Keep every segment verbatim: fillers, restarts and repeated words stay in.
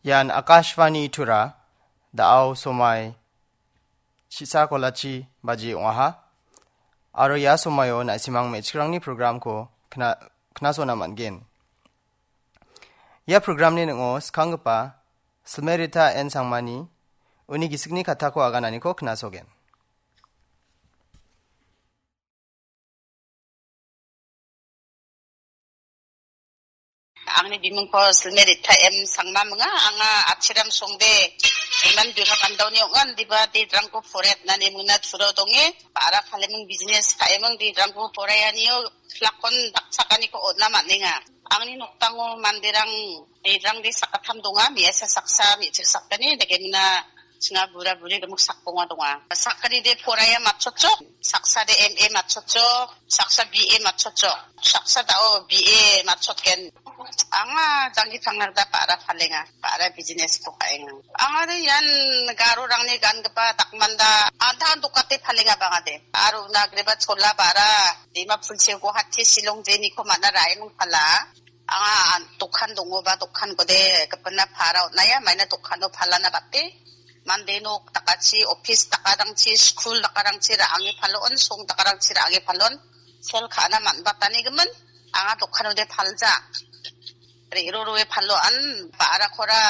Ian Akashvani Tura, da·ao somai chisa kolachi baji ong·aha. Aro ia somaio na·simang me·chikrangni programko kna-, knasona man·gen. Ia programni ning·o skanggipa Silmerita N Sangmani uni gisikni katako agananiko knasogen. Angni bimingko Silmerita M Sangma ong·a, anga Achiram Songde, iman bima pandaoni ong·a, indiba dedrangko poraitna nemingna Turao donge, ba·ra paleming business ka·eming dedrangko poraianio pilakon dakchakaniko on·a man·enga. Angni nokdango manderang, dedrangde sakgittam donga, me·asa saksa, me·chik sakgni, dakemingna chinga bura buri gimik sakbonga donga. Sakgnide poraia matchotjok, saksade M A matchotjok, saksa B A matchotjok, saksa da·o B A matchotgen. Anga janggi tangnarda ba·ra palenga, ba·ra business-ko ka·enga. Angade ian garorangni gangipa dakmanda, antan dokate palenga bangade. Aro una agreba chola ba·ra, Dimapur se Guwahati Shillong jeniko man·a ra·eming pala. Anga an-, dokan dongoba, dokankode gipina para on·aia, maina dokano palana bate. Mande nok dakachi, office dakarangchi, school dakarangchi ra·ange palon, song dakarangchi ra·ange palon. Sel ka·na man·batani gimin, anga dokanode palja. Re·ro roe paloan, ba·rakora,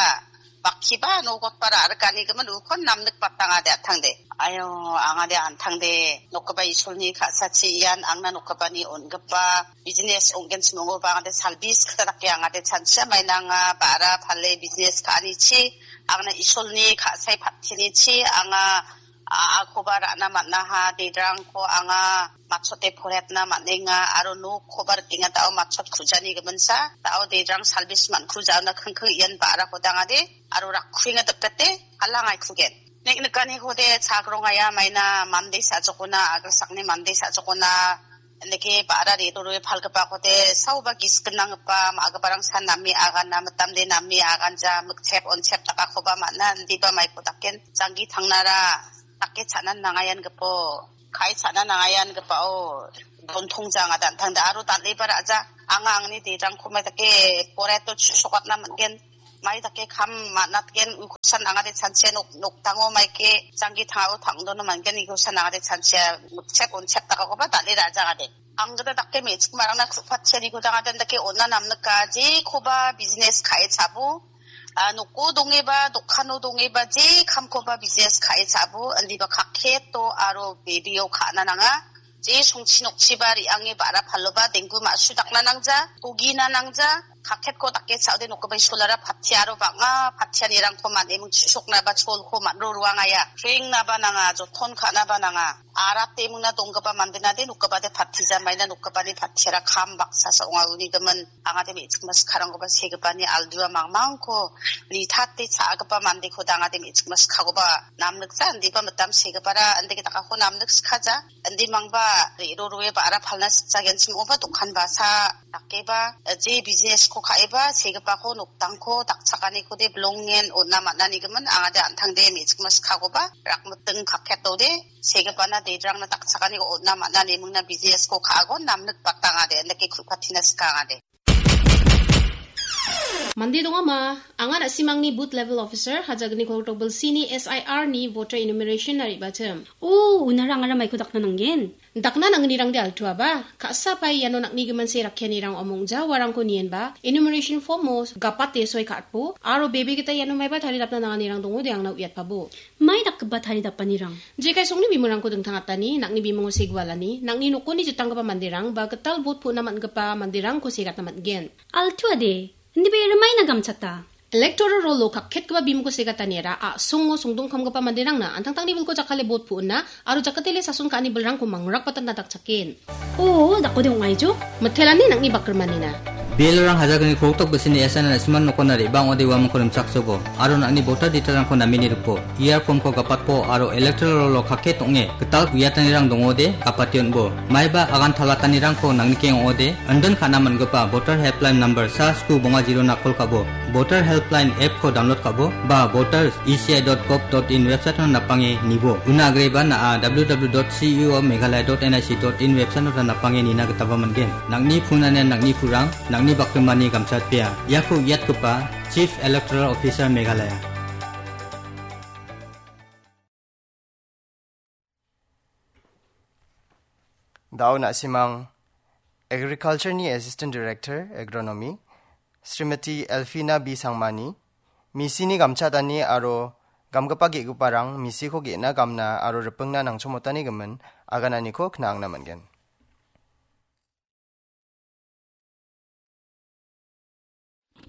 bakkiba, nogotba ra·rikani gimin, ukon namnik batangade an·tangde. Ayo, angade an·tangde, nokgipa Isolni ka·sachi ian angna nokgipani on·gipa business ong·genchim ong·oba angade salbis kita dake angade chanchia mainanga ba·ra pale business ka·anichi angna Isolni ka·sai pattinichi anga a-, akoba ra·na man·aha, dedrangko anga matchote poretna man·enga aro nokkoba rikenga da·o matchot kujani giminsa da·o dedrang salbis man-, kujaona kingking ian ba·rako dangade aro rakkuenga dipdete alangaikugen. Nik-, nikaniko de chagrongaya maina mande sa·jokona, agilsakni mande sa·jokona, indake ba·ra re·rurue palgipako de saoba gisik gnanggipa ma·giparang san name agana, mitamde name aganja, mikchep onchep dakakoba man·a, indiba maiko daken janggi tangnara dake cha·nan nangayangipo, kai cha·nan nangayanggipao, dontongja anga dantangda aro dal·eba ra·ja, anga angni dedrangko mai dake poreto chu-, sokatna man·gen. Mai dake kam man·atgen, ukosan angade chanchia nok-, nokdango maike janggi tangao tangdono man·gen, ukosan angade chanchia mikchep onchep dakakoba dal·e ra·jagade. Anggada dake me·chik marangna ku·patchianiko dangade dake ona namnika, jekoba business ka·e chabo, a, noko dongeba, dokano dongeba, je kamkoba business ka·e chabo, indiba kaketo aro bebeo ka·na nanga. Je songchi nokchiba re·ange ba·ra paloba denggu ma·su dakna nangja, togina nangja, kaketko dake cha·ode nokgipa isolara patia aro bang·a patianirangko man·eming chu·soknaba cholko man·ro ruangaia. Prengnaba nanga, joton ka·naba nanga. Arate mingna donggipa mandenade nokgipade patija maina nokgipani patiara kam baksa sa ong·a uni gimin. Angade me·chikma sikarangkoba segipani aldua mangmangko nitate cha·gipa mandeko dangade me·chikma sikakoba namnikja indiba mitam segipara indake dakako namnik sikaja. Indi mangba re·ro roe ba·ra palna sikjagenchim ong·oba dokan basa dakeba, je business-ko ka·eba segipako nokdangko dakchakaniko de bilongen on·a man·ani gimin angade an·tangde me·chikma sikakoba rakmiting kaketode segipana dedrangna dakchakaniko on·a man·a nemingna business-ko ka·agon namnik batangade indake ku·patina sikangade. Mande dongama, anga na·simangni booth level officer, Hajagni Kolgrikdok Bilsini S I R ni voter enumeration-na re·bachim. O, unara angara maiko dakna nanggen? Dakna nangnirangde altuaba, ka·sa pai iano nang·nigimin se rakkianirang omongja uarangko nienba, enumeration form-o gapate soi ka·atbo, aro bebe gita iano maiba taridapna nanganirang dongode angna uiatpabo. Mai dakgipa taridapanirang? Jekai songni bimungrangko dingtangatani, nang·ni bimungo segualani, nang·ni nokoni jitanggipa manderang, ba gital bot pu·na man·gipa manderangko segatna man·gen. Altuade, indiba ia rimaina gamchata. Electoral roll-o kaketgipa bimungko segataniara a·songo songdongkamgipa manderangna an·tangtangni bilko jakkale bot pu·na aro jakatele sason ka·ani bilrangko mangrakbatatna dakchaken. O, dakode ong·aijo? Mitelani nang·ni bakrimanina. Bilrang Hajagni Kolgrikdok Bilsini S I R na·simang nokona re·bang ong·ode uamangko rimchaksobo, aro nang·ni voter detail-rangko nameni ripo. E R form-ko gapatbo aro electoral roll-o kaket ong·e gital uiatanirang dongode gapate on·bo. Maiba agan talatanirangko nangnikeng ong·ode, indin ka·na man·gipa voter helpline number sa sku bonga zero-na call ka·bo, voter helpline app-ko download ka·bo, ba voters E C I dot gov dot in website-ona napange nibo. Una agreba na·a W W W dot C E O Meghalaya dot N I C dot in website-ota napange nina gitaba man·gen. Nang·ni phone-ani nang·ni purang, nang·ni Ni bakimani gamchatbea, iako uiatgipa Chief Electoral Officer Meghalaya. Dao na·simang Agriculture-ni Assistant Director Agronomy, Srimati Elfina B Sangmani, misini gamchatani aro gamgipa ge·giparang misiko ge·na gamna aro ripingna nangchomotani gimin agananiko kna·angna man·gen.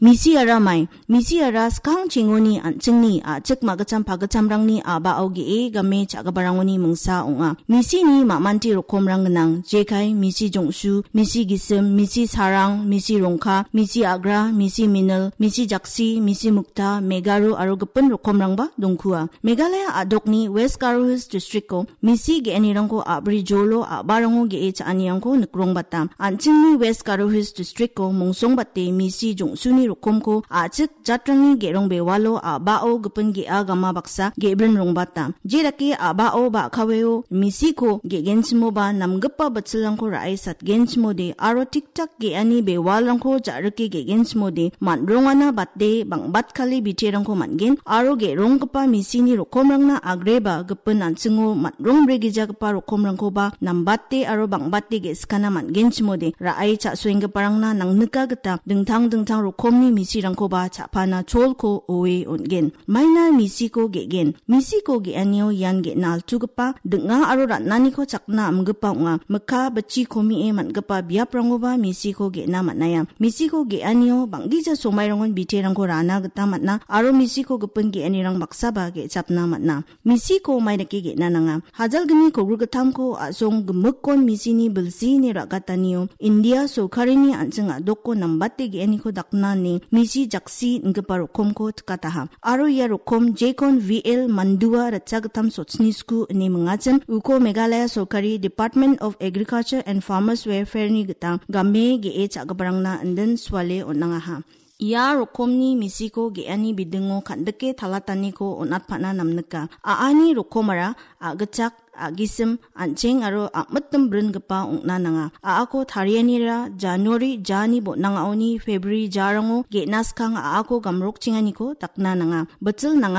Misiara mai, misiara skang chengoni an·chingni a·chik ma·gitcham pagitchamrangni a·bao ge·e game cha·giparangoni mingsa ong·a. Misini ma·manti rokomrang gnang, jekai, misi jongsu, misi gisim, misi sarang, misi rongka, misi agra, misi minil, misi jaksi, misi mukta, megaru aro gipin rokomrangba dongkua. Meghalaya a·dokni West Garo Hills District-o misi ge·anirangko a·bri jolo a·barango ge·e cha·anirangko nikrongbata. An·chingni West Garo Hills District-o mongsongbate misi jongsuni rokomko a·chik jatrangni ge·rong bewalo a·bao gipin ge·a gama baksa ge·brin rongbata. Jedake a·bao ba a·kaweo misiko ge·genchimoba namgipa bitsilrangko ra·e satgenchimode aro tiktak ge·ani bewalrangko ja·rike ge·genchimode man·rongana bate bang·batkale biterangko man·gen aro ge·ronggipa misini rokomrangna agreba gipin an·chingo man·rongbrigijagipa rokomrangkoba nambate aro bang·bate ge·sikana man·genchimode ra·e cha·soenggiparangna nangnika gita dingtang dingtang rokomni misirangkoba cha·pana cholko oe on·gen. Maina misiko ge·gen. Misiko ge·anio ian ge·na altugipa ding·a aro ran·aniko chakna amgipa ong·a. Mikka bitchi komie man·gipa biaprangoba misiko ge·na man·aia. Misiko ge·anio bang·gija somairangon biterangko rana gita man·a aro misiko gipin ge·anirang baksaba ge·chapna man·a. Misiko maidake ge·na nanga. Hajalgni kogrigitamko a·song gimikkon misini bilsini ra·gatanio India sorkarini an·ching a·doko nambate ge·aniko dakna ine misi jaksi ingipa rokomko tikataha. Aro ia rokom jekon V L Mandua ritchagittam sotsni sku ine mingachin uko Meghalaya sorkari Department of Agriculture and Farmers Welfare-ni gita game ge·e cha·giparangna indin suale on·angaha. Ia rokomni misiko ge·ani bidingo kan·dike talataniko on·atpana namnika. A·ani rokomara a·gitchak, a·gisim, an·cheng aro a·mitim bringipa ong·na nanga. A·ako tarianira January jani bon·angaoni February jarango ge·na skang a·ako gamrokchenganiko dakna nanga. Bitsil nangani